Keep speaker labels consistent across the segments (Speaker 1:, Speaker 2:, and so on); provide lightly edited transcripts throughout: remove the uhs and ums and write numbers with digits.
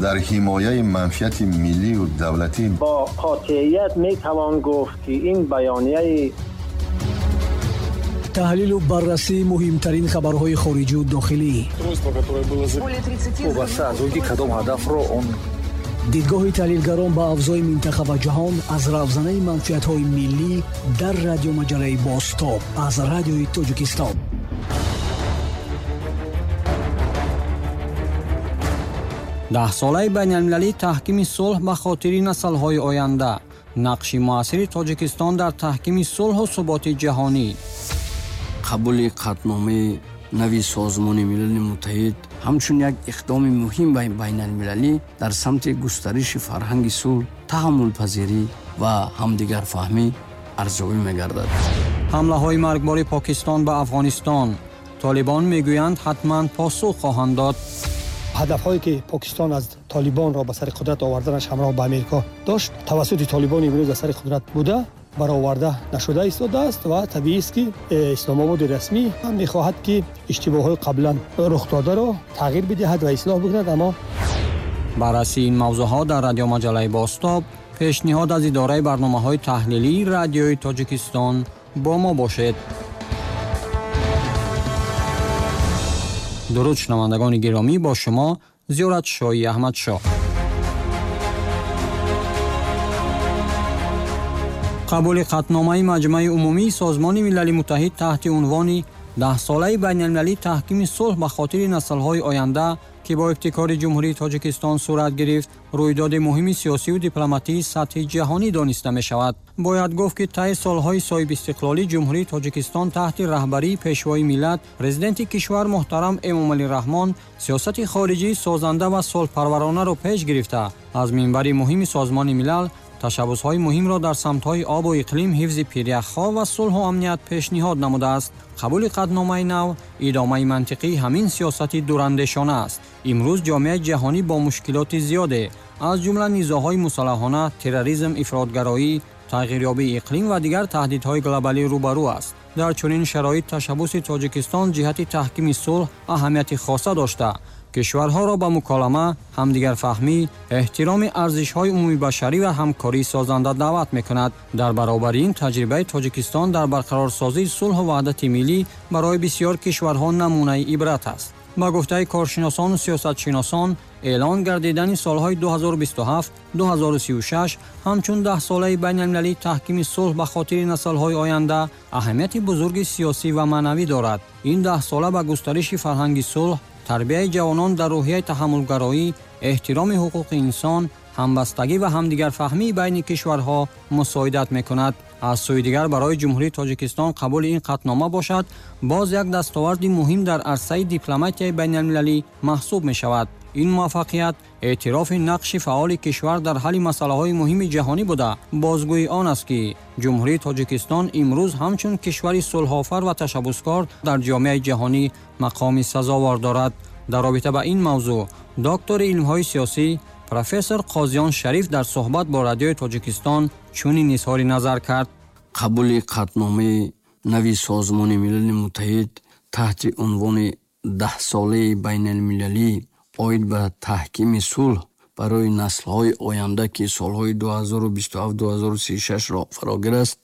Speaker 1: Дар ҳимояи манфиати миллию давлатӣ
Speaker 2: бо қотеият метавон гуфт, ки ин баёнияи
Speaker 3: таҳлилу баррасии муҳимтарин хабарҳои хориҷию дохилӣ,
Speaker 4: вобаста аз он ки кадом ҳадафро он
Speaker 3: дидгоҳи таҳлилгарон ба авзои минтақа ва ҷаҳон аз равзанаи манфиатҳои миллӣ дар радиомаҷалаи «Бозтоб» аз Радиои Тоҷикистон.
Speaker 5: Даҳсолаи байналмилалии таҳкими сулҳ ба хотири наслҳои оянда, нақши муассири Тоҷикистон дар таҳкими сулҳу суботи ҷаҳонӣ.
Speaker 6: Қабули қатъномаи нави Созмони Милали Муттаҳид ҳамчун як иқдоми муҳим байналмилалӣ дар самти густариши фарҳанги сулҳ, таҳаммулпазирӣ ва ҳамдигарфаҳмӣ арзёбӣ мегардад.
Speaker 5: Ҳамлаҳои маргбори Покистон ба Афғонистон, толибон мегӯянд, ҳатман посух хоҳанд дод.
Speaker 7: Ҳадафҳое ки Покистон аз Толибонро ба сари қудрат оварданаш ҳамроҳ ба Америко дошт, тавассути Толибони имрӯз аз сари қудрат буда бароварда нашуда истодааст ва табиист, ки Исломободи расмӣ ҳам мехоҳад, ки иштибоҳҳои қаблан рухдодаро тағйир бидиҳад ва ислоҳ бикунад, аммо
Speaker 5: Баррасии ин мавзӯъҳо дар радиомаҷалаи «Бозтоб», пешниҳод аз идораи барномаҳои таҳлилии Радиои Тоҷикистон. Бо мо бошед. Дуруд, шунавандагони гиромӣ, бо шумо Зиёратшоҳи Аҳмадшоҳ. Қабули қатъномаи Маҷмаи умумии Созмони Милали Муттаҳид таҳти унвони Даҳсолаи байналмилалии таҳкими сулҳ ба хотири наслҳои оянда, ки бо ибтикори Ҷумҳурии Тоҷикистон сурат гирифт, рӯйдоди муҳими сиёсию дипломатии сатҳи ҷаҳонӣ дониста мешавад. Бояд гуфт, ки таи солҳои соҳибистиқлолӣ Ҷумҳурии Тоҷикистон таҳти раҳбарии Пешвои миллат, Президенти кишвар муҳтарам Эмомалӣ Раҳмон сиёсати хориҷии созанда ва сулҳпарваронаро пеш гирифта, аз минбари муҳими Созмони Милал ташаббусҳои муҳимро дар самтҳои обу иқлим, ҳифзи пиряхҳо ва сулҳу амният пешниҳод намудааст. Қабули қатъномаи нав идомаи мантиқии ҳамин сиёсати дурандешона аст. Имрӯз ҷомеаи ҷаҳонӣ бо мушкилоти зиёде, аз ҷумла низоъҳои мусаллаҳона, терроризм, ифротгароӣ, тағйирёбии иқлим ва дигар таҳдидҳои глобалӣ рӯбарӯ аст. Дар чунин шароит ташаббуси Тоҷикистон ҷиҳати таҳкими сулҳ аҳамияти хоса дошта, кишварҳоро ба муколама, ҳамдигарфаҳмӣ, эҳтироми арзишҳои умумибашарӣ ва ҳамкории созанда даъват мекунад. Дар баробари ин, таҷрибаи Тоҷикистон дар барқарорсозии сулҳу ваҳдати миллӣ барои бисьёр кишварҳо намунаи ибрат аст. Ба гуфтаи коршиносону сиёсатшиносон, эълон гардидани солҳои 2027-2036 ҳамчун даҳсолаи байналмилалии таҳкими сулҳ ба хотири наслҳои оянда аҳамияти бузурги сиёсӣ ва маънавӣ дорад. Ин даҳсола ба густариши фарҳанги сулҳ, тарбияи ҷавонон дар рӯҳияи таҳаммулгароӣ, эҳтироми ҳуқуқи инсон, ҳамбастагӣ ва ҳамдигарфаҳмии байни кишварҳо мусоидат мекунад. Аз сӯи дигар, барои Ҷумҳурии Тоҷикистон қабули ин қатънома бошад, боз як дастоварди муҳим дар арсаи дипломатияи байналмилалӣ маҳсуб мешавад. Ин муваффақият эътирофи нақши фаъоли кишвар дар ҳалли масъалаҳои муҳими ҷаҳонӣ буда, бозгӯи он аст, ки Ҷумҳурии Тоҷикистон имрӯз ҳамчун кишвари сулҳофар ва ташаббускор дар ҷомеаи ҷаҳонӣ мақоми сазовор дорад. Дар робита ба ин мавзӯъ доктори илмҳои сиёсӣ, профессор Қозиён Шариф дар суҳбат бо Радиои Тоҷикистон чунин изҳори назар кард.
Speaker 6: Қабули қатъномаи нави Созмони Милали Муттаҳид таҳти унвони Даҳсолаи байналмилалӣ оид ба таҳкими сулҳ барои наслҳои оянда, ки солҳои 2027-2036-ро фарогир аст,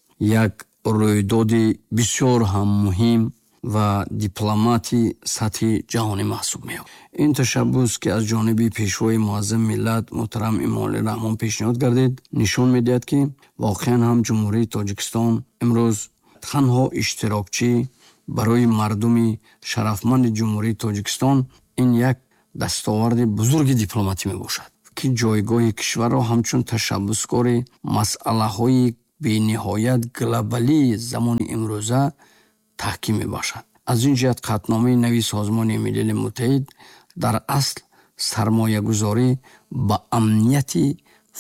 Speaker 6: як рӯйдоди бисёр ҳам муҳим ва дипломати сатҳи ҷаҳонӣ маҳсуб меёбад. Ин ташаббус, ки аз ҷониби Пешвои муаззами миллат муҳтарам Эмомалӣ Раҳмон пешниҳод гардид, нишон медиҳад, ки воқеан ҳам Ҷумҳурии Тоҷикистон имрӯз танҳо иштирокчӣ барои мардуми шарафманди Ҷумҳурии Тоҷикистон ин як дастоварди бузурги дипломатӣ мебошад, ки ҷойгоҳи кишварро ҳамчун ташаббускори масъалаҳои бениҳоят глобалии замони имрӯза таҳким мебахшад. Аз ин ҷиҳат қатъномаи нави Созмони Милали Муттаҳид дар асл сармоягузорӣ ба амнияти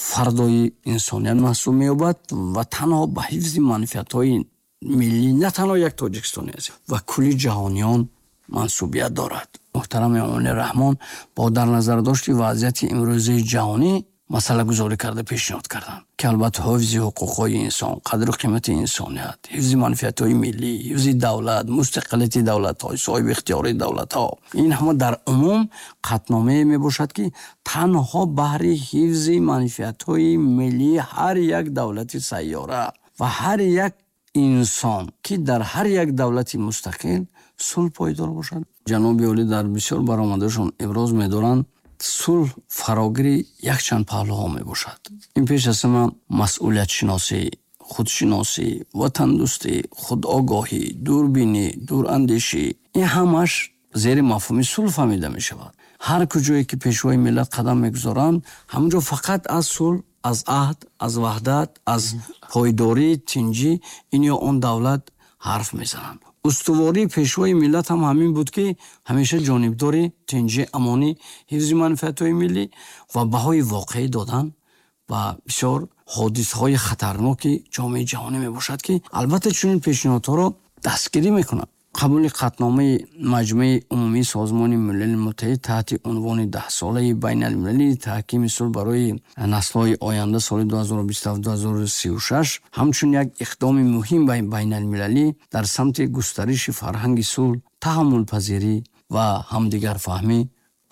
Speaker 6: фардои инсоният маҳсуб меёбад ва танҳо ба ҳифзи манфиатҳои миллӣ на танҳо як тоҷикистони азиз ва кулли ҷаҳониён мансубият дорад. Муҳтарам Эмомалӣ Раҳмон бо дар назардошти вазъияти имрӯзаи ҷаҳонӣ масъалагузорӣ карда пешниҳод карданд, ки албатта ҳифзи ҳуқуқҳои инсон, қадру қимати инсоният, ҳифзи манфиатҳои миллӣ, ҳифзи давлат, мустақилияти давлатҳо, соҳиби ихтиёри давлатҳо, ин ҳама дар умум қатъномае мебошад, ки танҳо баҳри ҳифзи манфиатҳои миллии ҳар як давлати сайёра ва ҳар як инсон, ки дар ҳар як давлати мустақил сулҳ пойдор бошад. Ҷаноби олӣ дар бисёр баромадашон иброз медоранд, сулҳ фарогири якчанд паҳлӯҳо мебошад. Ин пеш аз ҳама масъулиятшиносӣ, худшиносӣ, ватандӯстӣ, худогоҳӣ, дурбинӣ, дурандешӣ, ин ҳамаш зери мафҳуми сулҳ фаҳмида мешавад. Ҳар куҷое ки пешвои миллат қадам мегузоранд, ҳамонҷо фақат аз сулҳ, аз аҳд, аз ваҳдат, аз пойдорӣ, тинҷӣ ин ё он давлат ҳарф мезананд. Устувории пешвои миллат ҳам ҳамин буд, ки ҳамеша ҷонибдори тинҷӣ, амонӣ, ҳифзи манфиатҳои миллӣ ва баҳои воқеӣ додан ба бисёр ҳодисаҳои хатарноки ҷомеаи ҷаҳонӣ мебошад, ки албатта чунин пешниҳодҳоро дастгирӣ мекунад. Қабули қатъномаи Маҷмаи Умумии Созмони Милали Муттаҳид таҳти унвони 10-солаи байналмилалии таҳкими сулҳ барои наслҳои оянда соли 2027-2036 ҳамчун як иқдоми муҳим байналмилалӣ дар самти густариши фарҳанги сулҳ, таҳаммулпазирӣ ва ҳамдигарфаҳмӣ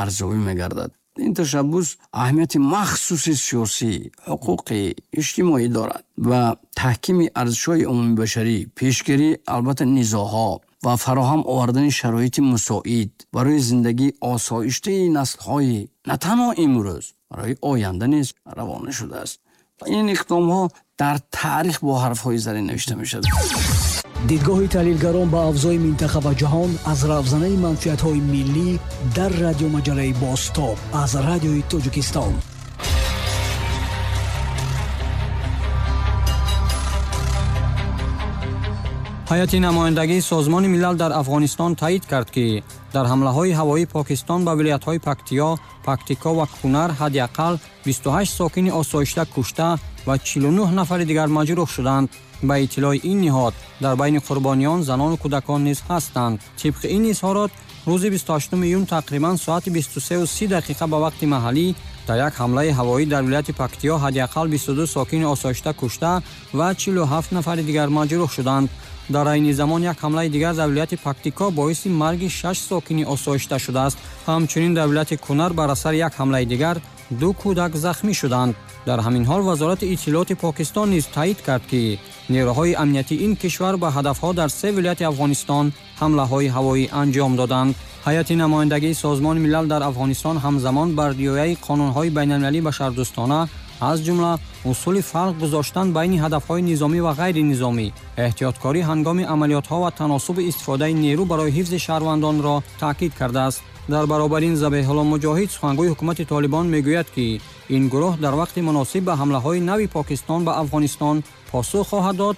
Speaker 6: арзёбӣ мегардад. Ин ташаббус аҳамияти махсуси сиёсӣ, ҳуқуқӣ, иҷтимоӣ дорад ва таҳкими арзишҳои умумибашарӣ, пешгирӣ албатта низоъҳо ва фароҳам овардани шароити мусоид барои зиндагии осоиштаи наслҳои на танҳо имрӯз, барои оянда низ равона шудааст. Ин иқдомҳо дар таърих бо ҳарфҳои зарин навишта мешавад.
Speaker 3: Дидгоҳи таҳлилгарон ба авзои минтақа ва ҷаҳон аз равзанаи манфиатҳои миллӣ дар радиомаҷалаи Бозтоб аз Радиои Тоҷикистон.
Speaker 5: Ҳайати намояндагии Созмони Милал дар Афғонистон таъид кард, ки дар ҳамлаҳои ҳавоии Покистон ба вилоятҳои Пактиё, Пактико ва Кунар ҳадди ақал 28 сокини осоишта кушта ва 49 нафари дигар маҷрӯҳ шуданд. Ба иттилои ин ниҳод дар байни қурбониён занону кӯдакон низ ҳастанд. Тибқи ин изҳорот, рӯзи 28 июн тақрибан соати 23:30 ба вақти маҳаллӣ дар як ҳамлаи ҳавоӣ дар вилояти Пактиё ҳадди ақал 22 сокини осоишта кушта ва 47 нафари дигар маҷрӯҳ шуданд. Дар айни замон як ҳамлаи дигар дар вилояти Пактико боиси марги 6 сокини осоишта шудааст. Ҳамчунин дар вилояти Кунар бар асари як ҳамлаи дигар 2 кӯдак захмӣ шуданд. Дар ҳамин ҳол вазорати иттилооти Покистон низ таъид кард, ки нерӯҳои амниятии ин кишвар ба ҳадафҳо дар 3 вилояти Афғонистон ҳамлаҳои ҳавоӣ анҷом доданд. Ҳайати намояндагии Созмони Милал дар Афғонистон ҳамзамон бар риояи қонунҳои байналмилалии башардӯстона, аз ҷумла усули фарқ гузоштан байни ҳадафҳои низомӣ ва ғайринизомӣ, эҳтиёткорӣ ҳангоми амалиётҳо ва таносуби истифодаи нерӯ барои ҳифзи шаҳрвандонро таъкид кардааст. Дар баробари ин Забиҳулло Муҷоҳид, сухангӯи ҳукумати Толибон, мегӯяд, ки ин гурӯҳ дар вақти муносиб ба ҳамлаҳои нави Покистон ба Афғонистон посух хоҳад дод,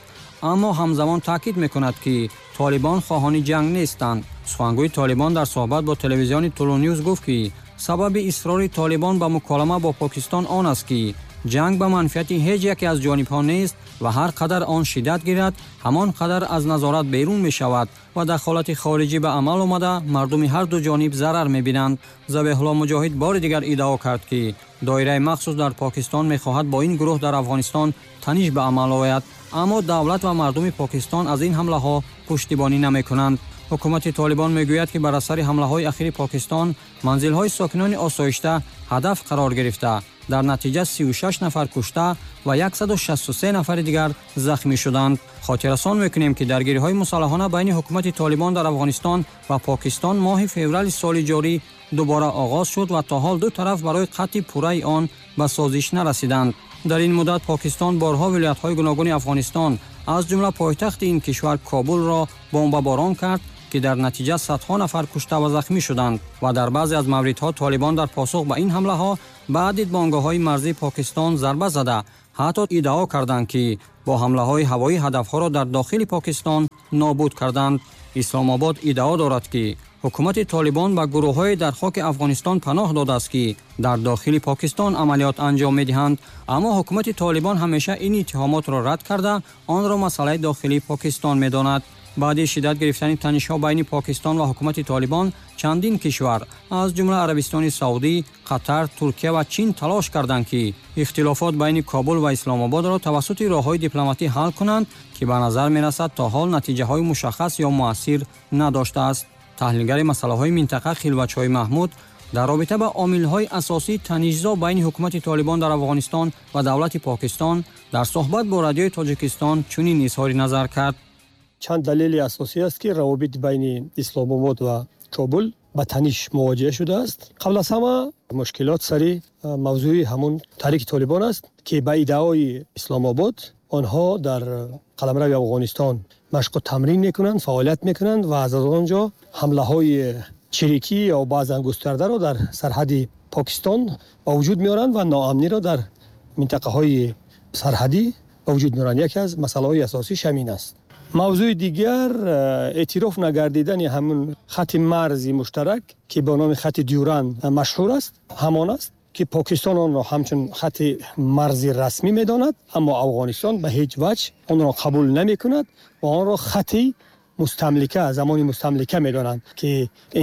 Speaker 5: аммо ҳамзамон таъкид мекунад, ки Толибон хоҳони ҷанг нестанд. Сухангӯи Толибон дар суҳбат бо телевизиони Тулу Ньюз гуфт, ки сабаби исрори Толибон ба муколама бо Покистон он аст, ки ҷанг ба манфиати ҳеҷ яке аз ҷонибҳо нест ва ҳар қадар он шиддат гирад, ҳамон қадар аз назорат берун мешавад ва дахолати хориҷӣ ба амал омада мардуми ҳар ду ҷониб зарар мебинанд. Забиҳулло Муҷоҳид бори дигар иддао кард, ки доираи махсус дар Покистон мехоҳад бо ин гурӯҳ дар Афғонистон таниш ба амал ояд, аммо давлат ва мардуми Покистон аз ин ҳамлаҳо пуштибонӣ намекунанд. Ҳукумати Толибон мегӯяд, ки бар асари ҳамлаҳои ахири Покистон манзилҳои сокинони осоишта ҳадаф қарор гирифта, дар натиҷа 36 нафар кушта ва 163 нафари дигар захмӣ шуданд. Хотиррасон мекунем, ки даргириҳои мусаллаҳона байни ҳукумати Толибон дар Афғонистон ва Покистон моҳи феврали соли ҷорӣ дубора оғоз шуд ва то ҳол ду тараф барои қатъи пурраи он ба созиш нарасиданд. Дар ин муддат Покистон борҳо вилоятҳои гуногуни Афғонистон, аз ҷумла пойтахти ин кишвар Кобулро бомбаборон кард, ки дар натиҷа садҳо нафар кушта ва захмӣ шуданд ва дар баъзе аз мавридҳо Толибон дар посух ба ин ҳамлаҳо ба дидбонгоҳҳои марзии Покистон зарба зада, ҳатто иддао карданд, ки бо ҳамлаҳои ҳавоӣ ҳадафҳоро дар дохили Покистон нобуд карданд. Исломобод иддао дорад, ки ҳукумати Толибон ба гурӯҳҳое дар хоки Афғонистон паноҳ додааст, ки дар дохили Покистон амалиёт анҷом медиҳанд, аммо ҳукумати Толибон ҳамеша ин иттиҳомотро рад карда, онро масъалаи дохилии Покистон медонад. Баъди шиддат гирифтани танишҳо байни Покистон ва ҳукумати Толибон, чандин кишвар аз ҷумла Арабистони Саудӣ, Қатар, Туркия ва Чин талош карданд, ки ихтилофот байни Кобул ва Исломободро тавассути роҳҳои дипломатӣ ҳал кунанд, ки ба назар мерасад то ҳол натиҷаҳои мушаххас ё муассир надоштааст. Таҳлилгари масъалаҳои минтақа Хилватшоҳи Маҳмуд дар робита ба омилҳои асосии танишзо байни ҳукумати Толибон дар Афғонистон ва давлати Покистон дар суҳбат бо Радиои Тоҷикистон чунин изҳори назар кард.
Speaker 7: Чанд далели асосӣ аст, ки равобит байни Исломобод ва Кобул ба таниш мувоҷиҳа шудааст. Қабл аз ҳама мушкилот сари мавзӯи ҳамун таҳрики Толибон аст, ки ба иддаои Исломобод онҳо дар қаламрави Афғонистон машқу тамрин мекунанд, фаъолият мекунанд ва аз он ҷо ҳамлаҳои чирикӣ ё баъзан густардаро дар сарҳади Покистон ба вуҷуд меоранд ва ноамниро дар минтақаҳои сарҳадӣ ба вуҷуд меоранд. Яке аз масъалаҳои асосӣ ҳамин аст. Мавзӯи дигар эътироф нагардидани ҳамун хати марзи муштарак, ки ба номи хати Дюран машҳур аст, ҳамон аст ки Покистон онро ҳамчун хати марзи расмӣ медонад, аммо Афғонистон ба ҳеҷ ваҷҳ онро қабул намекунад ва онро хати мустамлика, замони мустамлика медонанд, ки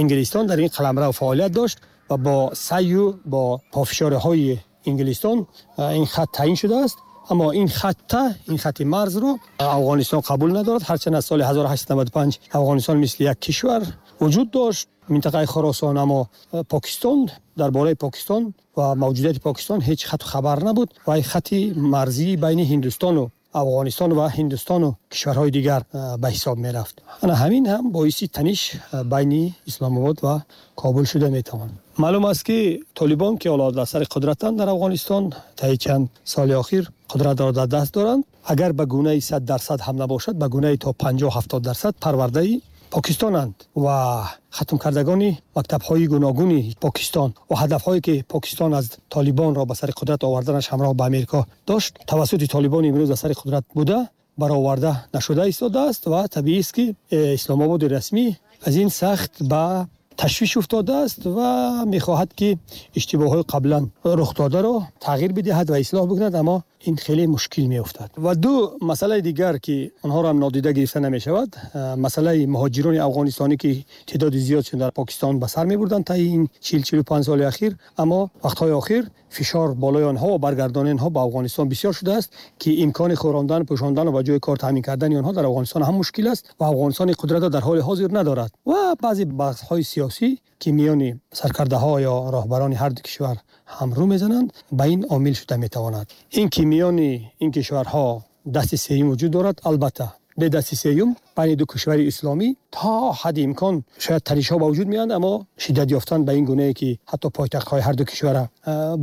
Speaker 7: Инглистон дар ин қаламрав фаъолият дошт ва бо саъю бо пофишориҳои Инглистон ин хат таъин шудааст. Аммо ин хати марзро Афғонистон қабул надорад. Ҳарчанд аз соли 1895 Афғонистон мисли як кишвар вуҷуд дошт, минтақаи Хуросон, аммо Покистон, дар бораи Покистон ва мавҷудияти Покистон ҳеҷ хату хабар набуд ва ин хати марзии байни Ҳиндустону Афғонистон ва Ҳиндустону кишварҳои дигар ба ҳисоб мерафт. Ана ҳамин ҳам боиси таниш байни Исломобод ва Кобул шуда метавонад. Маълум аст, ки Толибон, ки ҳоло дар сари қудратанд дар Афғонистон, таи чанд соли охир қудратро дар даст доранд, агар ба гунаи 100% ҳам набошад, ба гунаи то 50-70% парвардаи Покистонанд ва хатмкардагони мактабҳои гуногуни Покистон ва ҳадафҳое ки Покистон аз Толибонро ба сари қудрат оварданаш ҳамроҳ ба Америка дошт, тавассути Толибон имрӯз ба сари қудрат буда бароварда нашуда истодааст ва табиист, ки Исломободи расмӣ аз ин сахт ба ташвиш уфтодааст ва мехоҳад, ки иштибоҳҳои қаблан рух додаро тағйир бидиҳад ва ислоҳ бикунад, аммо ин хеле мушкил меафтад. Ва ду масъалаи дигар, ки онҳоро ҳам нодида гирифта намешавад, масъалаи муҳоҷирони афғонистонӣ, ки теъдоди зиёдшон дар Покистон ба сар мебурданд таи ин 40-45 соли ахир, аммо вақтҳои охир фишор болои онҳо ва баргардони онҳо ба Афғонистон бисёр шудааст, ки имкони хӯрондан, пӯшондан ва ба ҷои кор таъмин кардани онҳо дар Афғонистон ҳам мушкил аст ва Афғонистон ин қудратро дар ҳоли ҳозир надорад. Ва баъзе баҳсҳои сиёсӣ, ки миёни саркардаҳо ё роҳбарони ҳар ду кишвар ҳам рӯ мезананд, ба ин омил шуда метавонад. Ин ки миёни ин кишварҳо дасти сеюм вуҷуд дорад, албатта бе дасти сеюм байни ду кишвари исломӣ то ҳадди имкон шояд танишҳо ба вуҷуд меоянд, аммо шиддат ёфтан ба ин гунае ки ҳатто пойтахтҳои ҳар ду кишварро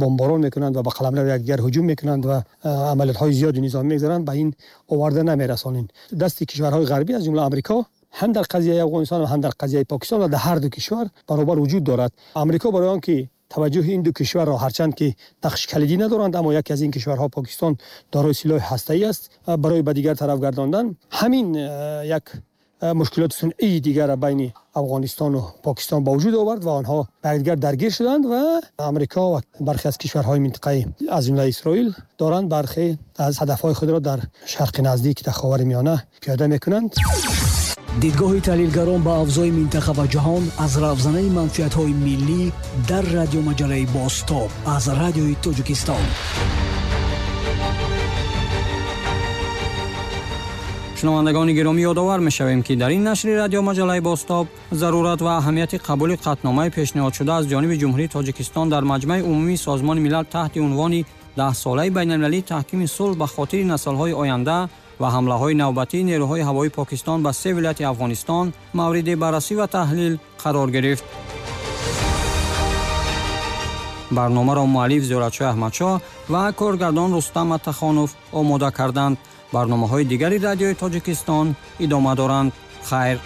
Speaker 7: бомборон мекунанд ва ба қаламрави якдигар ҳуҷум мекунанд ва амалиётҳои зиёди низомӣ мегузаранд, ба ин оварда намерасонанд. Дасти кишварҳои ғарбӣ аз ҷумла Амрико ҳам дар қазияи Афғонистон ва ҳам дар қазияи Покистон ва дар ҳар ду кишвар баробар вуҷуд дорад. Амрико барои он ки таваҷҷӯҳи ин ду кишварро, ҳарчанд ки нақши калидӣ надоранд, аммо яке аз ин кишварҳо Покистон дорои силоҳи ҳастаӣ аст, барои ба дигар тараф гардондан ҳамин як мушкилоти сунъии дигарро байни Афғонистону Покистон ба вуҷуд овард ва онҳо ба якдигар даргир шуданд ва Амрико ва бархе аз кишварҳои минтақаӣ аз ҷумла Исроил доранд бархе аз ҳадафҳои худро дар Шарқи Наздик, дар Ховари Миёна пиёда мекунанд.
Speaker 3: Дидгоҳи таҳлилгарон ба авзои минтақа ва ҷаҳон аз равзанаи манфиатҳои миллӣ дар радиомаҷалаи Бозтоб аз Радиои Тоҷикистон.
Speaker 5: Шунавандагони гиромӣ, ёдовар мешавем, ки дар ин нашри радиомаҷалаи Бозтоб зарурат ва аҳамияти қабули қатъномаи пешниҳодшуда аз ҷониби Ҷумҳурии Тоҷикистон дар Маҷмаи Умумии Созмони Милал таҳти унвони 10-солаи байналмилалии таҳкими сулҳ ба хотири наслҳои оянда ва ҳамлаҳои навбатии нерӯҳои ҳавоии Покистон ба се вилояти Афғонистон мавриди баррасӣ ва таҳлил қарор гирифт. Барномаро муаллиф Зиёратшоҳ Аҳмадшоҳ ва коргардон Рустам Атахонов омода карданд. Барномаҳои дигари Радиои Тоҷикистон идома доранд. Хайр.